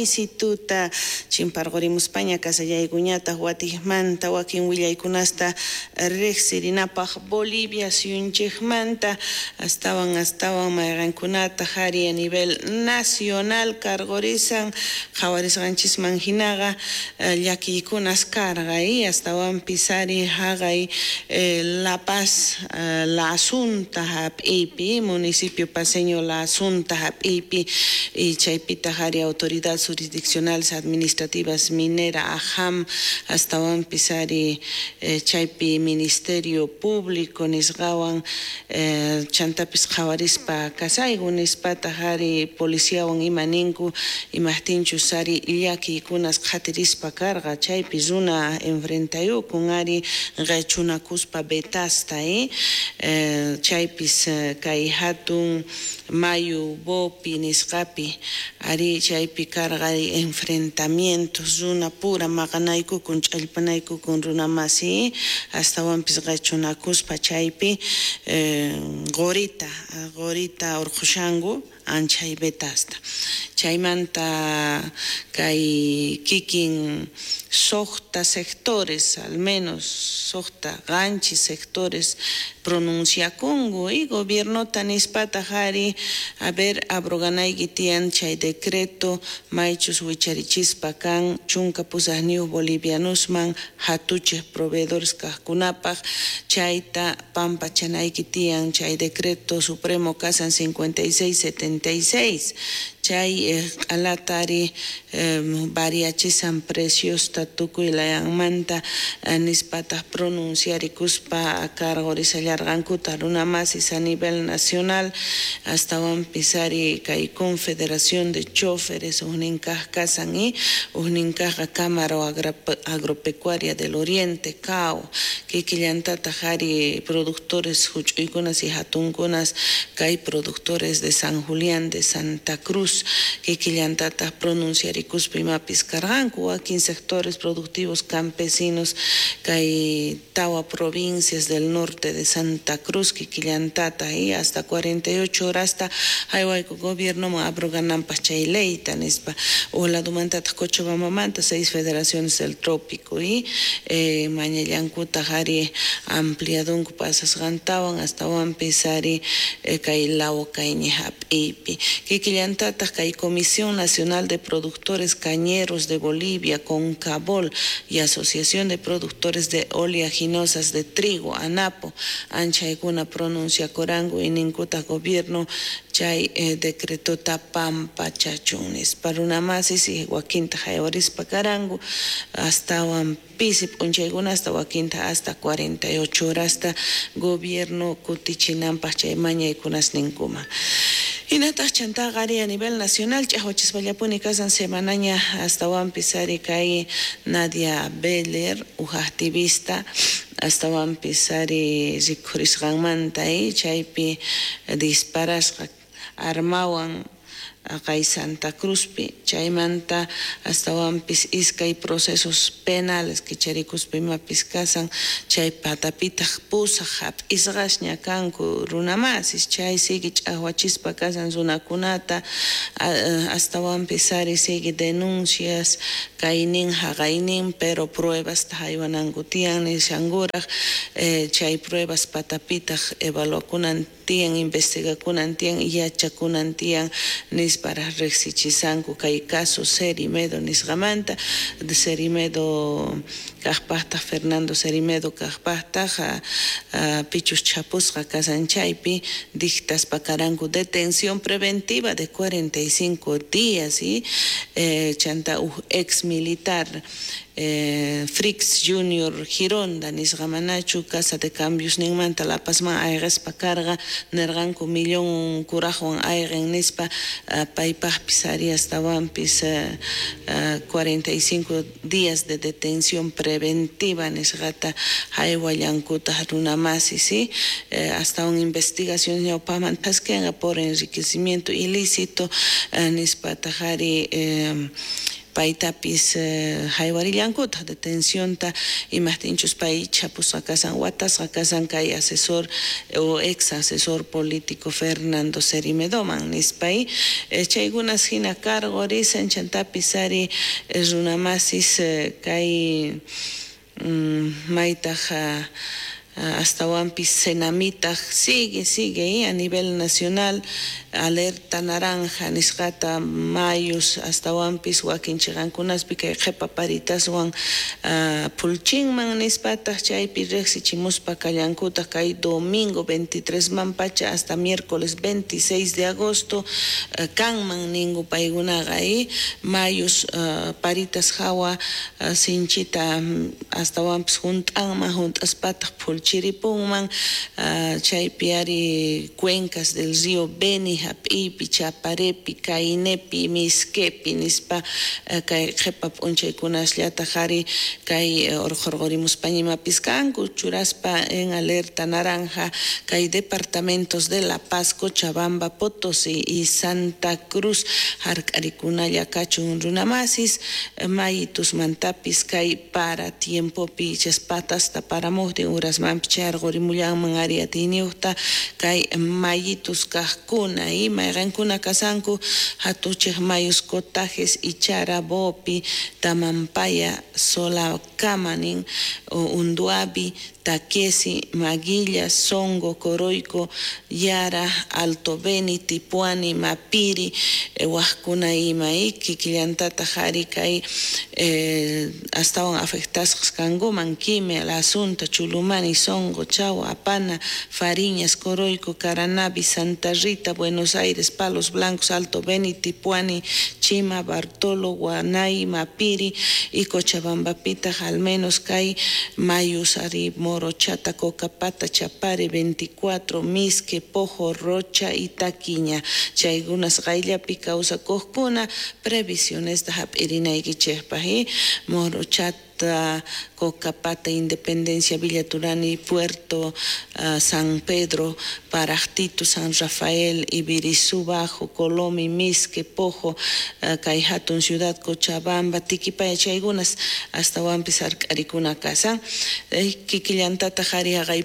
Ñawisituta chimparqurimuspaña kasallaykuñataq watijmanta wakin willaykunasta riqsirinapaq Bolivia suyunchikmanta astawan astawan mayqankunata ari a nivel nacional karqurisan qhawarisqanchisman hinaqa llakiykunas karqa astawanpis ari haqay La Paz, La Asunta hap'iypi, municipio paceño La Asunta hap'iypi, y chaypitaq ari autoridades jurisdiccionales administrativas minera AJAM astawanpis ari chaypi Ministerio Público nisqawan chantapis qhawarispa kasayku nispataq ari policiawan ima ninku imaqtinchus ari llakiykunas qhatirispa karqa chaypi runa enfrentayukun ari qhichunakuspa betasta chaypis kay hatun mayu Bopi nisqapi ari chaypi karqa enfrentamientos runa pura maqanaykukun ch'allpanaykukun runa masi astawanpis qhichunakuspa chaypi qorita qorita urqhushanku anchay betasta chaymanta kay kikin suqta sectores al menos suqta qanchis sectores pronunciakunku y gobiernota nispataq ari a ver abroganayki tiyan chay decreto maychus wicharichispa kan 18 bolivianosman hatuchej proveedores kaqkunapaq chayta pampachanayki tiyan chay decreto supremo kasan 5676 chay q'alatari variachisan preciosta tukuy layanmanta nispataq pronunciarikuspa karqurisallarqankuta runa masis a nivel nacional astawanpis ari kay Confederación de Choferes ujninkaq kasan y ujninkaqqa Cámara Agropecuaria del Oriente CAO kikillantataq ari productores huch'uykunas y hatunkunas kay productores de San Julián de Santa Cruz kikillantataq pronunciarikuspa imapis karqanku wakin sectores productivos campesinos kay tawa provincias del norte de Santa Cruz kikillantata y hasta 48 horasta haywayku gobiernoman abrogananpaq chay leyta nispa uj ladomantataq Cochabambamanta 6 federaciones del trópico y mañallankutaq ari ampliadunku pasasqantawan astawanpis ari kay Lawakayñi hap'iypi kikillantataq kay Comisión Nacional de Productores Cañeros de Bolivia, CONCABOL, y Asociación de Productores de Oleaginosas de Trigo, ANAPO, anchaykuna pronunciakuranku y ninkutaq gobierno chay decretota pampachachun nispa runa masis y wakinta haywarispa karanku astawan pisi p'unchaykuna hasta wakinta hasta 48 horasta gobierno kutichinanpaq chay mañaykunas ninkuman. Hinataq chantaqa ari a nivel nacional ch'aqwachispallapuni kasan semanaña astawanpis ari kay Nadia Beller uj activista astawanpis ari rikhurisqanmanta chaypi disparasqa armawan kay Santa Cruzpi chaymanta astawanpis iskay procesos penales kicharikuspa imapis kasan chay patapitaq pusaq hap'isqasña kanku runa masis chay sigue ch'aqwachispa kasan runakunata astawanpis ari sigue denuncias kaynin haqaynin pero pruebasta haywananku tiyan nishankuraq chay pruebas patapitaq evaluakunan tiyan investigakunan tiyan yachakunan tiyan nispara riqsichisanku kay caso Cerimedo nisqamanta Cerimedo kaqpaqtaq Fernando Cerimedo kaqpaqtaq pichus chapusqa kasan chaypi dictaspa karanku detención preventiva de 45 días y chanta uj ex militar Frix Junior Gironda nisqamanachu casa de cambios ninmanta La Pazman ayqispa karqa nirqanku millón kuraqwan ayqin nispa paypaqpis ari astawanpis 45 días de detención preventiva nisqata haywallankutaq runa masis hasta una investigación ñawpaqman thaskinqa por enriquecimiento ilícito nispataq ari Paytapis haywarillankutaj detencionta imajtinchus pay chapusqa kasan watasqa kasan kay asesor o ex asesor político Fernando Cerimedoman nispay chaykunas hina karqurisan chantapis ari runamasis kay maytaj astawanpis Senamitaj sigue a nivel nacional alerta naranja nisqata mayus astawanpis wakin chiqankunaspi kay qhipa paritaswan phulchinman nispataj chaypi riqsichimuspa kallankutaj kay domingo 23 man pacha hasta miércoles 26 de agosto kanman ninku paykunaqa mayus paritas hawa sinchita astawanpis hunt'anman hunt'aspataq phulchiripunman chaypi ari cuencas del río Beni hap'iypi Chaparepi Cainepi Misquepi nispa kay qhipa p'unchaykunasllataj ari kay urqhurqurimuspañimapis kanku churaspa en alerta naranja kay departamentos de La Paz, Cochabamba, Potosí y Santa Cruz hark'arikunalla kachun runamasis mayitusmantapis kay para tiempopi chaspatasta paramujtin urasmanpi chayarqurimullanman ari atiyniyuqta kay mayitus kaqkuna y mayqankuna kasanku hatuchej mayus Cotajes, Ichara, Bopi, Tamampaya, Solacama nin Unduavi, Taquesi, Maguilla, Songo, Coroico, Yara, Alto Beni, Tipuani, Mapiri, wajkuna ima kikillantataj ari kay astawan afectasqas kankuman Quime, La Asunta, Chulumani, Songo, Chagua, Apana, Fariñas, Coroico, Caranavi, Santa Rita, Buenos Aires, Palos Blancos, Alto Beni, Tipuani, Chima, Bartolo, Guanay, Mapiri y Cochabambapitaj al menos kay mayus ari Morochata, Cocapata, Chapare, 24, Misque, Pojo, Rocha y Taquiña. Chaykunas qayllapi kawsakuqkuna previsionesta hap'irinaykichikpaq Morochata, Cocapata, Independencia, Villa Turani, Puerto, San Pedro, Parajtito, San Rafael, Ibirizú Bajo, Colomi, Misque, Pojo, kay hatun ciudad, Cochabamba, Tiquipaya, chaykunas astawanpis hark'arikuna kasan kikillantataj ari haqay